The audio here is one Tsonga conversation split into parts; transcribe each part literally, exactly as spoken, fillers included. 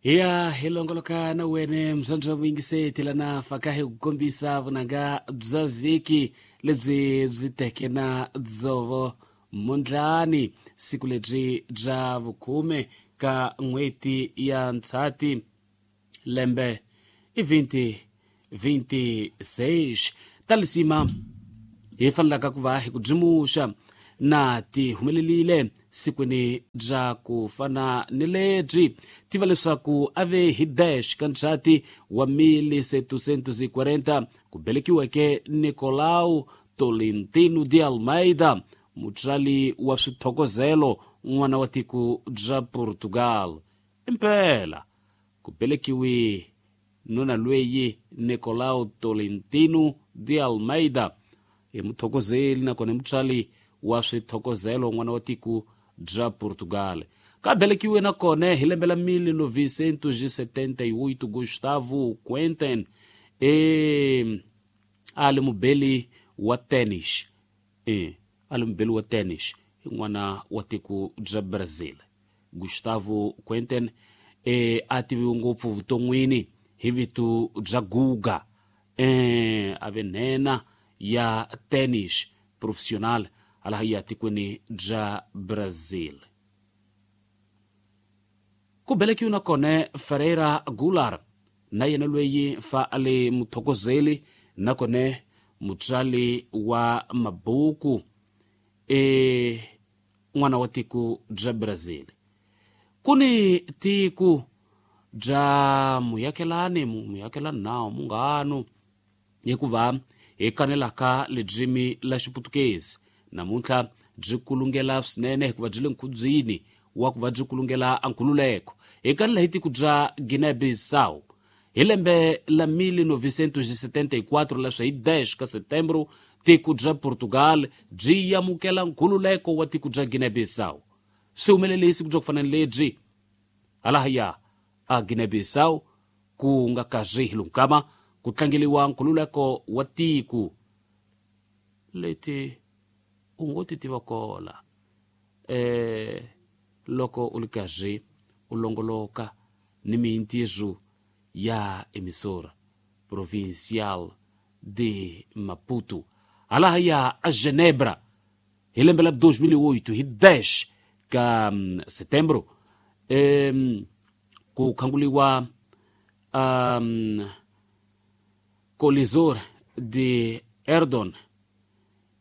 Ya hi longoloka na wene mzwanzwa wa vuyingiseti lana faka hi ku kombisa vunanga bya vhiki lebyi byi teke na dzovo mondlani, siku lebyi bya vukhume ka n'hweti ya Ndzhati lembe i twenty twenty-six. Ta lisima hi fanelaka ku va hi ku byimuxa na ti humelelile sikwini bya ku fana ni lebyi. Tiva leswaku a ve hi dash ka Ndzhati wa mille setecentos e quarenta ku velekiweke Nicolau Tolentino de Almeida, mutswali wa swithokozelo n'wana wa tiko bya Portugal. Impela ku velekiwe nuna lweyi Nicolau Tolentino de Almeida i muthokozeli nakona i mutswali wa swithokozelo n'wana wa tiko bya Portugal. Ka velekiwe nakona hi lembe la mille novecentos setenta e oito Gustavo Kuerten e a li mubeli wa tennis, e a li mubeli wa tennis n'wana wa tiko bya Brazil. Gustavo Kuerten e a tiviwe ngopfu vuton'wini hi vito bya Guga, e a ve nhenha ya tennis professional hala ya tikweni bya Brazil. Ku velekiwe nakona Ferreira Goulart, na yena lweyi fa a li muthokozeli nakona mutswali wa mabuku e n'wana wa tiko bya Brazil. Ku ni tiko bya muyakelani muyakelani nawu munghano hikuva hi kanelaka ledlimi la Xiputukezi namuntlha byi kulungela swinene hikuva byi le nkhubyini wa ku va byi kulungela nkhululeko. Hi kanela hi tiko bya Guinea-Bissau hi lembe la mille novecentos setenta e quatro leswi hi dez ka setembro tiko bya Portugal byi amukela nkhululeko wa tiko bya Guinea-Bissau. Swi humelele hi siku bya ku fana ni lebyi halahaya a Guinea-Bissau ku nga karhi hi lunkama ku tlangeliwa nkhululeko wa tiko leti u ngo ti tiva kola eh loko u li karhi u longoloka ni mintirho ya emissora provincial de Maputo halahaya a Genebra hi lembe la dois mil e oito hi dez ka setembro um, ku khanguliwa um, Colisor de Erdon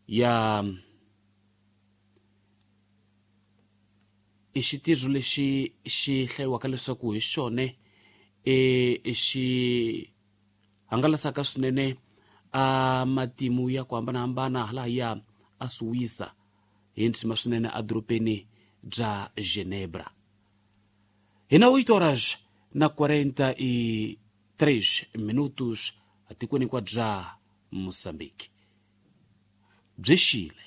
ya i xitirho lexi xi hlayiwaka leswaku hi xona e xi hangalasaka swinene a matimu ya ku hambanahambana halahaya a Suwisa hi ntshima swinene edorobeni bya Genebra. Hi na oito horas na quarenta e três minutos atikweni kwa bya Moçambique. Byi xile.